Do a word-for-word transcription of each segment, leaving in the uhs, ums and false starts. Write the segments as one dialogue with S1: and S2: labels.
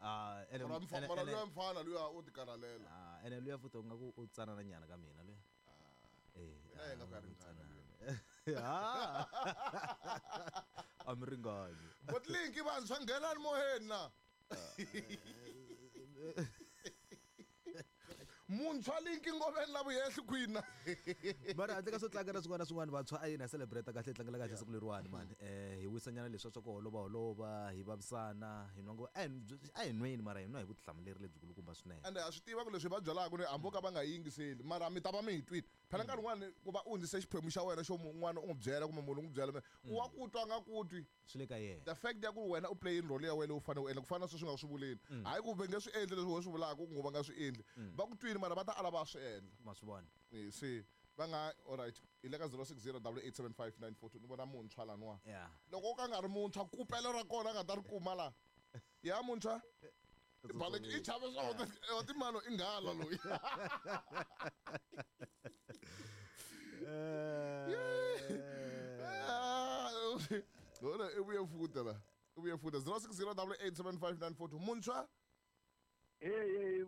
S1: Ah, ene
S2: Mara mfa-
S1: ene-
S2: mara
S1: ene-
S2: luya mfana luya u tikarhalela.
S1: Ah, ene luya futhi u nga ku u tsanana nyana ka mina luya. Eh,
S2: Mina hi nga ku ya
S1: ah, u
S2: ringana
S1: tsanana. Ah. A mi ringani.
S2: But linki vantshwa nghenani moyeni na. Muntshwa linki ngoveni la vuyehli kwini na.
S1: Mara handle ka swo tlanga na swin'wana na swin'wana vantshwa a yini ha celebrate kahle hi tlangela kahle siku leriwani mani. Eh hi wisanyana leswiya swa ku holova holova hi vavisana hi nwa ngo a hi a hi nweni mara hi nwa hi vutihlamuleri lebyikulukumba swinene.
S2: Ende ha swi tiva ku leswi va byalaka ni hambi vo ka va nga yingiseli mara mi ta va mi hi twile. Phela nkarhi wun'wani ku va u hundzise xiphemu xa wena xo un'wana u n'wi byela kumbe munhu u n'wi byela u wa ku twa a nga ku twi.
S1: Swi le ka yena.
S2: The fact ya ku wena u play role ya wena leyi u fanele u endla ku fana na sweswi u nga swi vuleni. Hayi ku va nge swi endli leswi wena swi vulaka ku va nga swi endli. Va ku twile mara va ta ala va swi endla.
S1: Ma swi vona.
S2: Eh, se va nga alright hi le ka zero six zero double eight seven five nine four two ni vona muntshwa laniwa.
S1: Yeah.
S2: Loko o ka nga ri muntshwa kupelo ra kona a nga ta ri kuma la. Ya muntshwa Balek i chave swa wa timalo i nghala loyi.
S1: Eh.
S2: Ora i vuye futa la. I vuye futa zero six zero double eight seven five nine four two muntshwa.
S3: Eh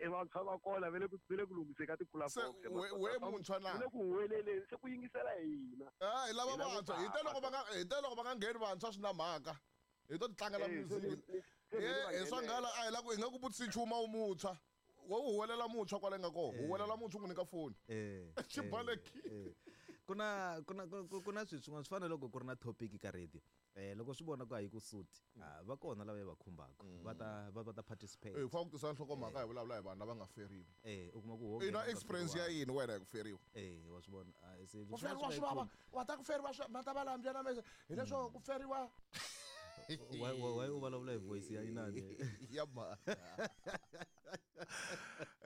S3: eh vantshwa va kona va le ku va le ku lunghiseni ka
S2: Se
S3: ti-platform.
S2: we we muntshwa na.
S3: Va le ku huweleleni se ku yingisela hina.
S2: Ah, hi lava
S3: Hi lava
S2: vantshwa. Hi te loko va nga hi te loko va nga ngheni vantshwa swi na mhaka. Hi to tlangela
S3: Eh, se
S2: music.
S3: ni- se ni va
S2: Eh, swa nghala a hi la ku hi nga ku vutisi nchumu wu muntshwa. Wo huwelela muntshwa kwale nga kona. Huwelela muntshwa u n'wi nyika foni.
S1: Eh.
S2: Xibalekile.
S1: Eh. Ku na ku na ku ku na swilo swin'wana swi fana loko ku ri na topic ka radio. Eh loko swi vona ku a yi ku suti. Ah va kona lava va khumbaka. Va ta va va ta participate.
S2: Eh, fa ku tisa nhlokomhaka hi vulavula hi vanhu lava nga feriwa.
S1: Eh u kuma ku ho
S2: I na experience ya yini wena hi ku feriwa?
S1: Eh wa swi vona. Ah se
S2: Ku feriwa swi vava. Wa ta ku feriwa swi va ta va lambya na mese. Hileswo ku feriwa
S1: Why why u vulavula hi voice ya inani?
S2: Ya ma.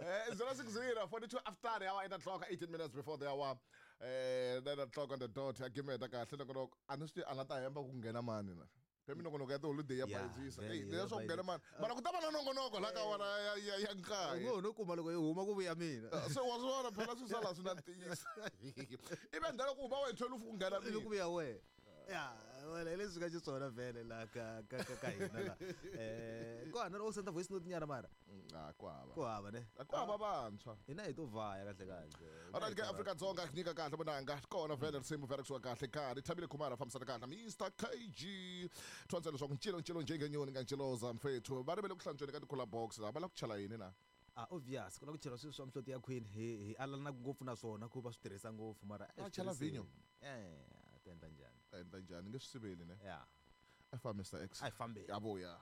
S2: Eh zero six zero forty-two after the hour eight o'clock eighteen minutes before the hour. Eh nine o'clock on the dot. Ya gimeta kahle loko loko a ni swi a nga ta hemba ku nghena mani na. Phela minongonoko ya tiholideyi ya
S1: Yeah,
S2: bayizisa.
S1: vele,
S2: Eh
S1: ya
S2: leswo ku nghena mani. Mara ku ta va na nongonoko la ka wona ya ya ya
S1: U
S2: nkaye.
S1: ngo no kuma loko yi huma ku vuya mina.
S2: Se wa swi vona phela swi sala swi na ntiyiso. Ivi endzhaku ku huma wena twelve ku nghena
S1: Ivi ku
S2: mina.
S1: vuya wena. Ya, wena hi leswi nga xiswona vhele la ka ka ka ka hina la. Eh kona u senda voice note nyana mara.
S2: Ah ku hava.
S1: Ku hava ne.
S2: Ku hava vantshwa.
S1: Hina hi to vhaya kahle kahle.
S2: Alright ke Afrika Dzonga ku nyika kahle vonanga kona vhele risimu vhele kusuka kahle karhi Thabile Khumalo fambisana kahle Mister K G thwantsela leswaku ncilo ncilo njengenyoni nga nciloza mfethu va rivele ku hlantsweni ka ti-cooler box la va la ku chela yini na.
S1: Ah obvious ku la ku chela swilo swa mihloti ya queen hi hi alana ngopfu na swona ku va swi tirhisa ngopfu mara a
S2: Va
S1: swi
S2: chela
S1: tirhiseni.
S2: vhinyo?
S1: Eh ta endla njhani?
S2: Ta endla njhani nge swi siveli ne.
S1: Yeah.
S2: A fa Mister X.
S1: A hi fambeni.
S2: Ya vuya.